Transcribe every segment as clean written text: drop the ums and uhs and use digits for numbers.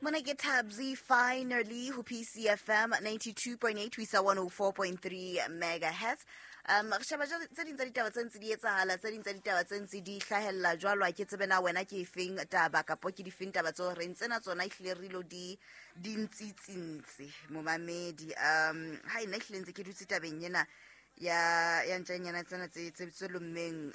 Mona ke Thabzi finally ho PCFM 92.8 ho isa 104.3 megahertz. Re sheba tse ding tsa ditaba tse ntse di etsahala, tse ding tsa ditaba tse ntse di hlahella jwalo. Ha ke tsebe na wena ke efeng taba kapo ke difeng taba tseo reng tsena tsona ehlile re ilo di di ntsitsintse momamedi. Ha ena ehlile ntse ke dutse tabeng ena ya ntjanyana tsena tse lommeng,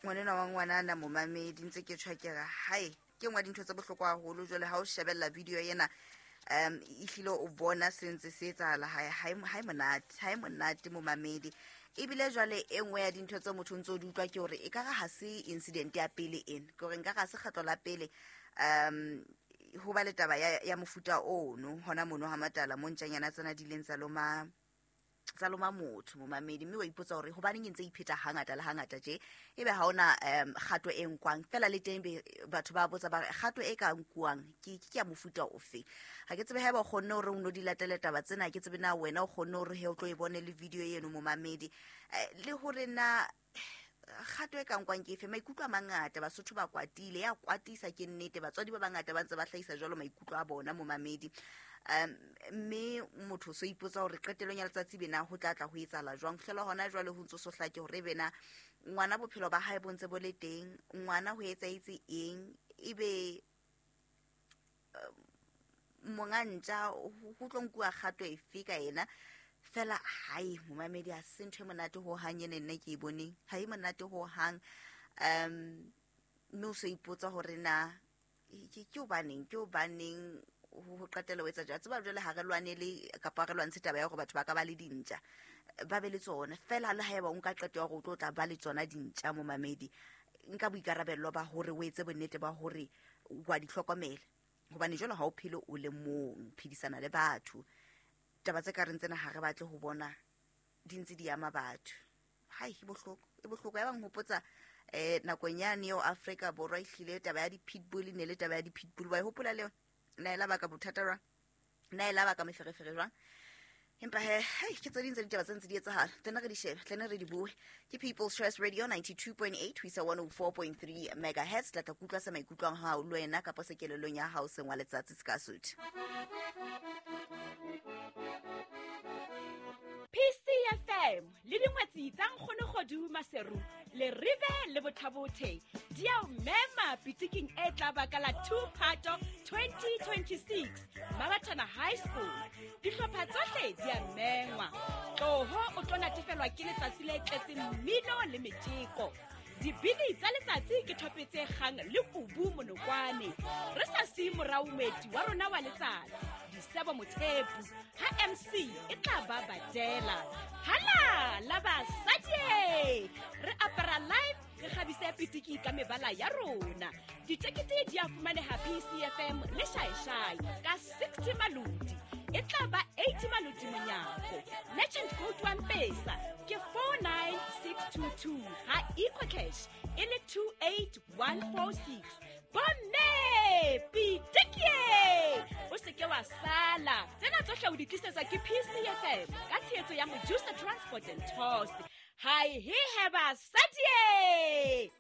ngwanenwa wa ngwanana momamedi, ntse ke tjho ke re hae ke nngwe ya dintho tse bohlokwa haholo. Jwale ha o shebella video ena, ehlile o bona se ntse se etsahala, ha e monate, ha e monate momamedi. Ebile jwale e nngwe ya dintho tse motho o ntso di utlwa ke hore ekare ha se incident ya pele ena, ke hore nkare ha se kgetlo la pele ho ba le taba ya mofuta ono hona mono ha Matala, mo ntjanyana tsena di ileng tsa loma motho momamedi. Mme wa ipotsa hore hobaneng e ntse e ipheta hangata le hangata tje, ebe ha hona kgato e nkwang fela. Le teng be batho ba botsa ba re kgato e ka nkuwang ke ya mofuta ofe. Ha ke tsebe haeba o kgonne hore o no di latele taba tsena, ha ke tsebe na wena o kgonne hore he o tlo e bone le video eno momamedi, le hore na kgato e ka nkwang ke efe. Maikutlo a mangata, Basotho ba kwatile, ya kwatisa ke nnete. Batswadi ba bangata ba ntse ba hlahisa jwalo maikutlo a bona momamedi. Mme motho o so ipotsa hore qetellong ya letsatsi bena ho tla tla ho etsahala jwang. Fihlela hona jwale ho ntso so hlake hore bena ngwana bophelo ba hae bo ntse bo le teng, ngwana ho etsahetse eng, ebe monga ntja ho tlo nkuwa kgato efe ka yena fela. Hae momamedi, ha se ntho e monate ho hang ene nna ke e boneng, ha e monate ho hang. Mme o so ipotsa hore na ke hobaneng ho qetella o etsa jwalo. Tseba jwale ha re lwanele kapa re lwantshe taba ya hore batho ba ka ba le dintja, ba be le tsona fela. Le haeba o nka qeto ya hore o tlo tla ba le tsona dintja momamedi, nka boikarabello ba hore o etse bonnete ba hore wa di hlokomela, hobane jwale ha o phele o le mong, phedisana le batho. Taba tse ka reng tsena ha re batle ho bona di ntse di ama batho. Hai, e bohloko, e bohloko. Ya bang hopotsa nakong yane eo Afrika Borwa ehlile taba ya di-pitbull, e ne le taba ya di-pitbull, wa e hopola le yona? Na e la baka bothata jwang? Na e la baka meferefere jwang? Empa he, hei, ke tse ding tsa ditaba tse ntse di etsahala, tlene re di shebe, tlene re di bue. Ke People's Choice Radio 92.8 ho isa 104.3 megahertz. Tla tla kutlwa se maikutlwang hao le wena kapa se kelellong ya hao seng wa letsatsi se ka suthu. PCFM le dingwetsi tsa Nkgonogodu Maseru le Rive le Bothabothe di a o mema pitiking e tla baka la 2 Phato 2026 Mabathana High School. Dihlopha tsohle di a mengwa. Tloho o tlo natefelwa ke letsatsi le tletseng mmino le metjeko. Dibini tsa letsatsi ke thopetse kgang le kubu monokwane, re sa siye morao moeti wa rona wa letsatsi Disebo Mothepu, ha MC e tla ba badela hala la basadi. Re apara live, re kgabise pitiki ka mebala ya rona. Ditekete di a fumaneha PCFM le Shaeshai ka 60 maloti, e tla ba 80 maloti monyako. Merchant code wa Mpesa ke 49622, ha EcoCash e le 28146. Bomme, pitikie, o se ke wa sala. Tsena tsohle o di tlisetswa ke PCFM ka tshehetso ya Mojusa Transport and Tours. Hai he he basadie.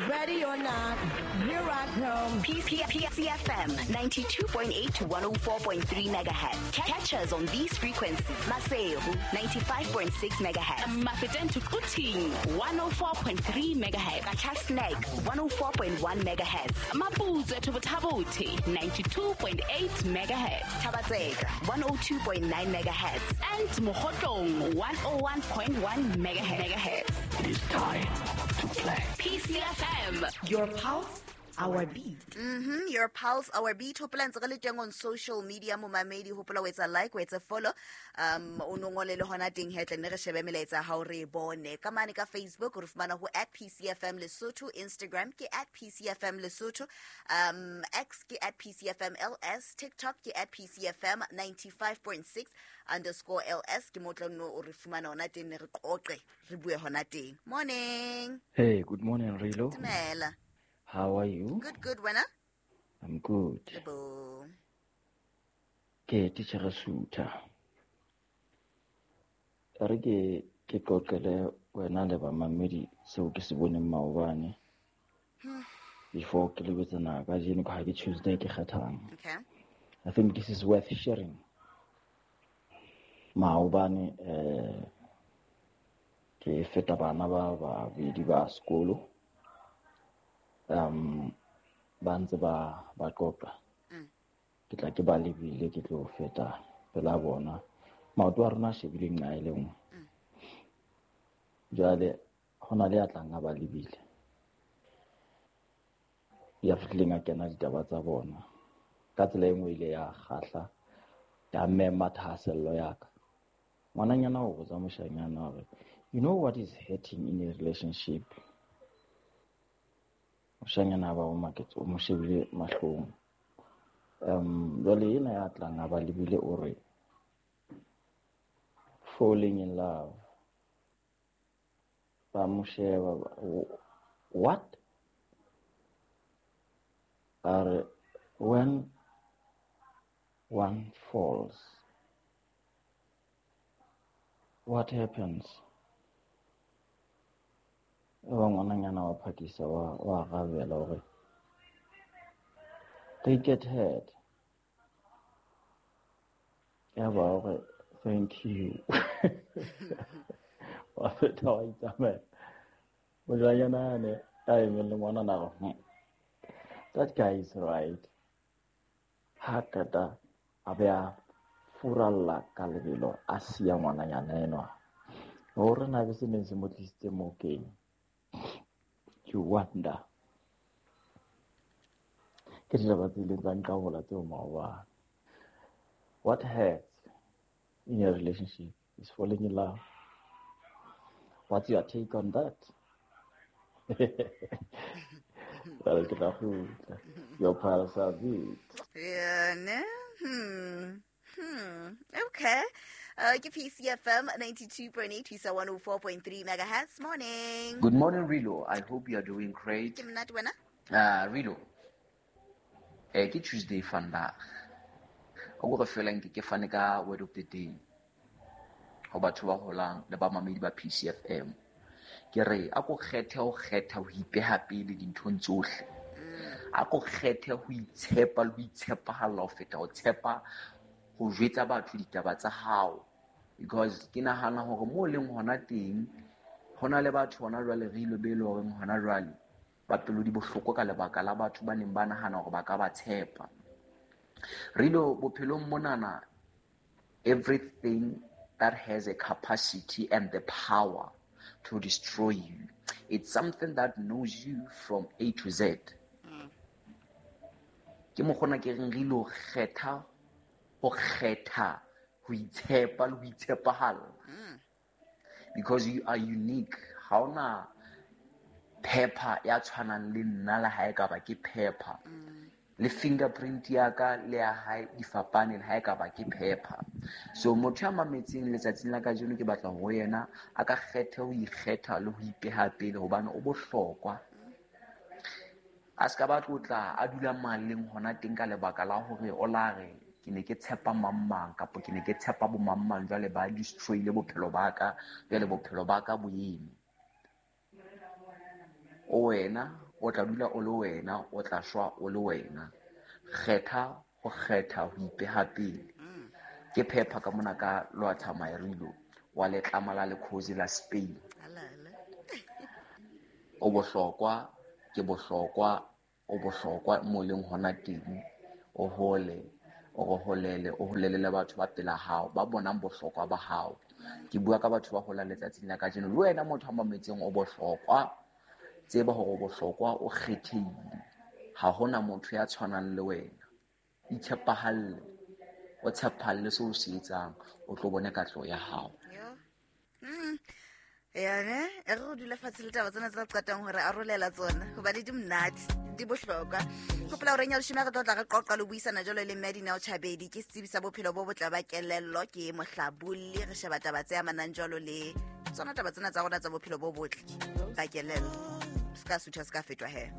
Ready or not, here I come. PCFM 92.8 to 104.3 megahertz. Catch us on these frequencies. Maseru 95.6 megahertz. Mafeteng to Quthing 104.3 megahertz. Qacha's Nek 104.1 megahertz. Maputsoe to Botha-Bothe 92.8 megahertz. Thaba-Tseka 102.9 megahertz. And Mokhotlong 101.1 megahertz. It is time to play. PCFM. Your pulse, our beat. Your pulse, our beat. Hopola ntse re le teng on social media momamedi. Hopola o etsa like, o etsa follow. O no ngole le hona teng he, tle ne re shebe melaetsa ya hao, re e bone. Ka mane ka Facebook re fumana ho @PCFM Lesotho, Instagram ke @PCFM Lesotho, X ke @PCFMLS, TikTok ke @PCFM 95.6_LS. Ke mo tla no o re fumana hona teng, ne re qoqe, re bue hona teng. Morning. Hey, good morning, Rilo. Dumela. How are you? Good, good, wena? I'm good. Lebo. Ke titjhere Sutha. Re ke qoqele wena le bamamedi seo ke se boneng maobane. Before ke lebetsana kajeno ka ha ke Tuesday ke kgethang. Okay. I think this is worth sharing. Maobane ke feta bana ba babedi ba sekolo. Ba ntse ba qoqa. Ke tla ke ba lebile ke tlo feta pela bona. Maoto a rona a shebile nqa e le nngwe. Jwale ho na le ya tlang a ba lebile. Ya fihlileng a kena ditaba tsa bona. Ka tsela e nngwe ile ya kgahla, ya mema thahasello ya ka. Ngwananyana o botsa moshanyana hore, you know what is hurting in a relationship? Moshanyana ba o maketse, o mo shebile mahlong. Jwale ena ya tlang a ba lebile o re, falling in love. Ba mo sheba, what? A re, when one falls, what happens? Ba ngwananyana wa phakisa wa arabela hore they get hurt. Ya ba hore thank you. Wa feta wa itsamela. Moshanyana ane a emeng le ngwanana a re, that guy is right. Ha qeta a be a furalla ka lebelo a siya ngwananyana enwa. Hore na be se neng se mo tlisitse moo keng. You wonder. Ke ditaba tse ileng tsa nqabola tseo maobane. What hurts in a relationship is falling in love. What's your take on that? Well, ke tla kgutla. Your pals are big. Yeah, ne? Okay. Ke PCFM 92.8 Isa 104.3 megahertz. Morning. Good morning, Rilo. I hope you are doing great. Ke monate wena? Rilo. Ke Tuesday vandag. O go re fela nke ke fane ka word of the day. Ho batho ba holang le ba mamedi ba PCFM. Ke re a ko kgethe ho kgetha ho ipeha pele dinthong tsohle. A ko kgethe ho itshepa le ho itshepahalla ho feta ho tshepa ho jwetsa batho ditaba tsa hao. Because ke nahana hore mo leng hona teng hona le batho hona jwale re ile be le hore hona jwale ba pelo di bohloko ka lebaka la batho ba neng ba nahana hore ba ka ba tshepa. Rilo bophelong monana, everything that has a capacity and the power to destroy you, it's something that knows you from A to Z. Ke mokgona ke reng re ilo kgetha ho kgetha ho itshepa le ho itshepahalla. Because you are unique. Ha hona pepper ya tshwanang le nna le ha e ka ba ke pepper. Le fingerprint ya ka le ya hae di fapane le ha e ka ba ke pepper. So motho ya mametseng letsatsing la kajeno ke batla ho yena a ka kgetha ho ikgetha le ho ipeha pele hobane o bohlokwa. A ska ba tlotla a dula maleng hona teng ka lebaka la hore o la re ke ne ke tshepa mang mang kapa ke ne ke tshepa bo mang mang jwale ba destroy-ile bophelo ba ka, jwale bophelo ba ka bo eme. O wena o tla dula o le wena, o tla shwa o le wena. Kgetha ho kgetha ho ipeha pele. Ke phepha ka mona ka Lwatha Mairilo wa letlama la lekhozi la Spain. O bohlokwa, ke bohlokwa, o bohlokwa mo leng hona teng. O hole, o re holele, o holele le batho ba pela hao, ba bonang bohlokwa ba hao. Ke bua ka batho ba holang letsatsing la kajeno. Le wena motho a mametseng o bohlokwa. Tseba hore o bohlokwa, o kgethehile. Ha hona motho ya tshwanang le wena. Itshepahalle, o tshepahalle seo o se etsang, o tlo bone katleho ya hao. Ya ne, e re dula fatshe le taba tsena tsa qetang hore arolela tsona hobane di monate, di bohlokwa. Hopola hore nya leshome re tlo tla re qoqa le buisana jwalo le Medina Chabedi ke setsebi sa bophelo bo botle ba kelello, ke mohlabolli, re sheba taba tse amanang jwalo le tsona taba tsena tsa rona tsa bophelo bo botle ba kelello. Ska sutha ska fetwa he.